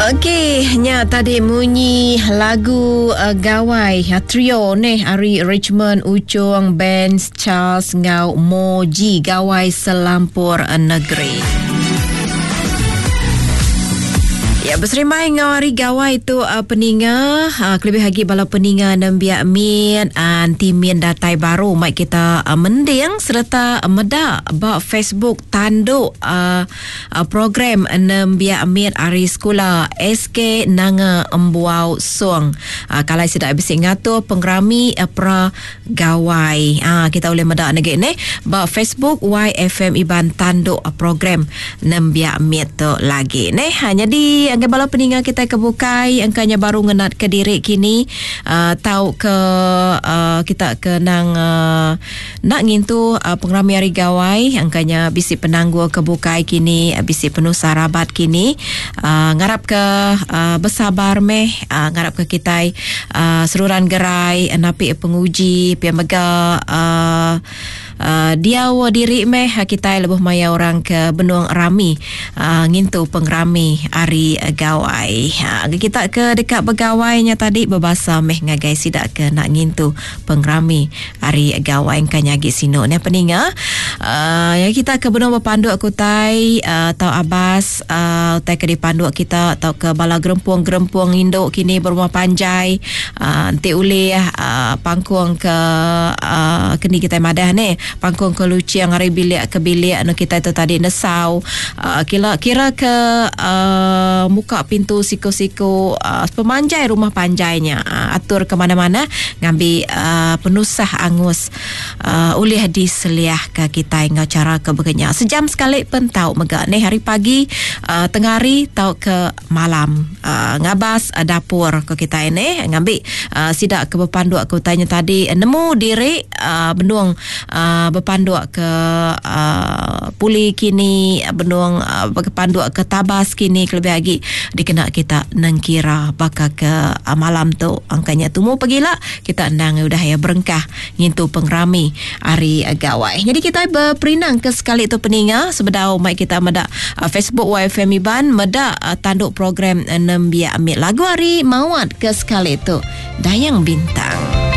Okey, nya tadi munyi lagu uh, Gawai uh, trio neh ari Richmond Uchung Benz Charles enggau Moji Gawai Selampur Negeri. Ya, beserimbai enggau hari gawai tu uh, peninga, uh, kelebih lagi bala peninga nembiak min, uh, anti min datai baru mai kita uh, mending sereta meda ba Facebook tanduk uh, Program nembiak mit ari sekula SK Nanga Embuau Song. Kalai sida bisi ngatur pengerami pra Gawai. Kita ulih meda negi neh ba Facebook YFM Iban tanduk program nembiak mit tu lagi neh. Nyadi ngagai bala peninga kitai ke bukai engka nya baru ngenat ke diri kini tauka kita ke nang Enda ngintu pengerami Hari Gawai engka nya bisi penanggul ke bukai kini bisi penusah rabat kini ngarap ke besabar meh ngarap ke kitai seruran gerai napi penguji pia mega diau diri meh kitai lebuh maya orang ke benung rami ngintu pengerami Hari Gawai. Kita ke deka begawai nya tadi bebasa meh ngagai sida ke enda ngintu pengerami Ari gawai engka nya agi sinu neh peninga. Uh, ya kita ke benung bepanduk ke utai uh, tau abas uh, utai ke dipanduk kita tau ke bala gerempung-gerempung indu kini berumah panjai uh, enti ulih uh, pangkung ke uh, keni kitai madah neh pangkung ke luching ari bilik ke bilik anu kitai tu tadi nesau uh, kira kira ke uh, muka pintu siku-siku uh, sepemanjai rumah panjai nya uh, atur ke mana-mana Ngambi penusah angus ulih diseliahka kitai enggau chara ke baka nya. Sejam sekali pen tau mega neh hari pagi, tengah hari tauka malam ngabas dapur ko kitai neh ngambi sida ke bepanduk ke utai nya tadi nemu diri benung bepanduk ke puli kini benung bepanduk ke tabas kini kelebih agi dikena kita nengkira baka ke malam tu angka nya tumu pagila kita endang udah iya berengkah ngintu pengerami hari gawai. Nyadi kitai beperindang ke sekali tu peninga sebedau mai kita meda Facebook YFM Iban meda tandu program nembiak mit lagu ari Mawat ke sekali tu Dayang Bintang.